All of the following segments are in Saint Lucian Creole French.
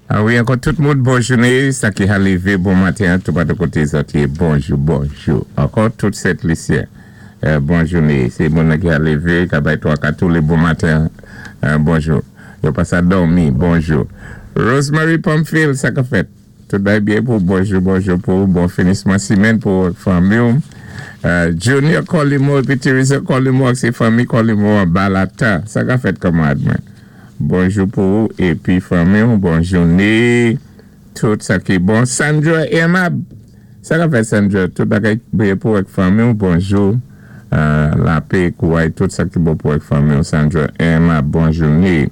A wi, ankò tout moun, bon jouné. Sa ki ka lévé bon maten, tou patou koté zòt yé, bonjou, bonjou. Ankò tout Sent Lisyen, bon jouné. Sé moun ki ka lévé, ka bay twa kat toulé bon maten, bonjou. Yo pa sa dòmi, bonjou. Rosemary Pamphile, sa ka fèt? Tout bay byen pou bonjou, bonjou pou bon finisman simenn pou fanmi. Junior Colimo épi Teresa Colimo ak sé fanmi Colimo an Balata. Sa ka fèt, kanmarad mwen? Bonjou pou ou épi fanmi, bon jouné. Tout sa ki bon. Sandra Emab. Sa ka fèt, Sandra? Tout bagay byen pou ak fanmi, bonjou. Lapè, kouway, tout sa ki bon pou ak fanmi, Sandra Emab, bon jouné.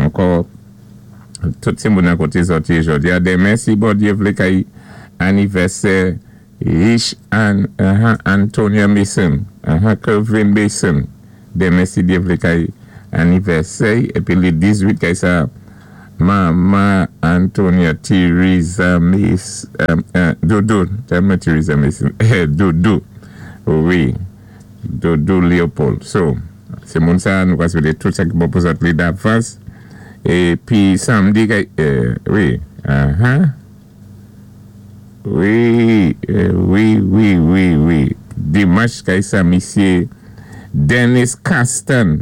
Ankò tout sé moun koté zòt yé jòdi a. Denmen, si Bondyé vlé, kay anivèsè Rich An, Antonia Mason, Kelvin Mason. Denmen, si Dye vlé, kay anivèsè épi li 18 kay sa Mama Antonia Teresa Mason, Doudou, tèlman Teresa Mason, Doudou, wi, Doudou Leopold. So, sé moun sa nou ka swété tout sa ki bon pou zòt li davans. Épi samdi kay, wi, wi, dimanch kay sa misyé Dennis Castan.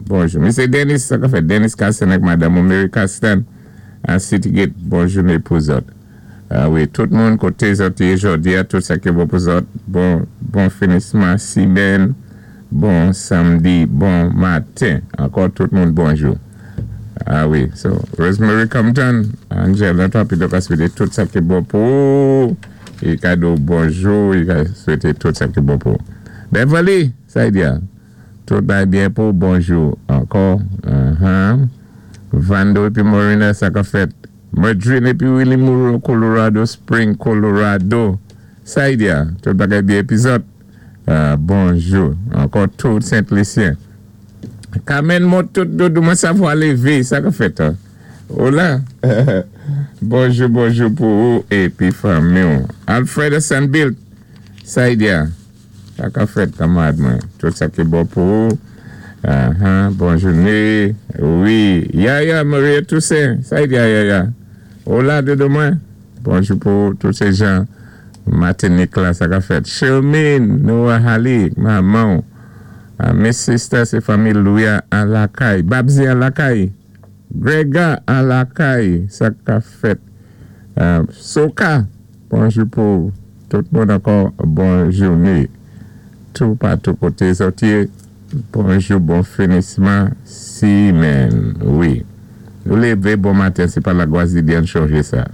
Bonjou. Misyé Dennis, sa ka fèt? Dennis Castan ak madanm Mary Castan a Citygate, bon jouné pou zòt. A wi, tout moun koté zòt yé jòdi a, tout sa ki bon pou zòt, bon finisman simenn, bon samdi, bon maten. Ankò tout moun bonjou. A wi, so Rosemary Compton, Angel, nan pi ka swété tout sa ki bon pou é kado bonjou, é ka swété tout sa ki bon pou. Beverly, sa y di a? Tout bay byen pou bonjou ankò. Vando épi Morina, sa ka fèt? Madrine épi Willie Moreau, Colorado Spring, Colorado. Sa y di a? Tout bagay byen épi zòt. Bonjou. Ankò tout Sent Lisyen. Carmen Motot Doudou, mwen savwa lévé, sa ka fèt? Hola. Bonjou, bonjou pou ou épi fanmi. Alfred Sanbilt, sa y di a? Sa ka fèt, kanmarad mwen? Tout sa ki bon pou ou. Bon jouné. Wi. Yaya Maria Toussaint. Sa y di a, Yaya? Hola, doudou mwen. Bonjou pou ou, tout sé jan Matinik la, sa ka fèt? Shermine Noah Hali, manman. Miss Sister, sé fanmi Louis an lakay. Babzi an lakay. Grega an lakay. Sa ka fèt? Soka, bonjou pou tout moun ankò, bon jouné. Tou patou koté zòt yé, bonjou, bon finisman simenn. Wi. Nou lévé bon maten, sé pa Lagwazidyèn chanjé sa.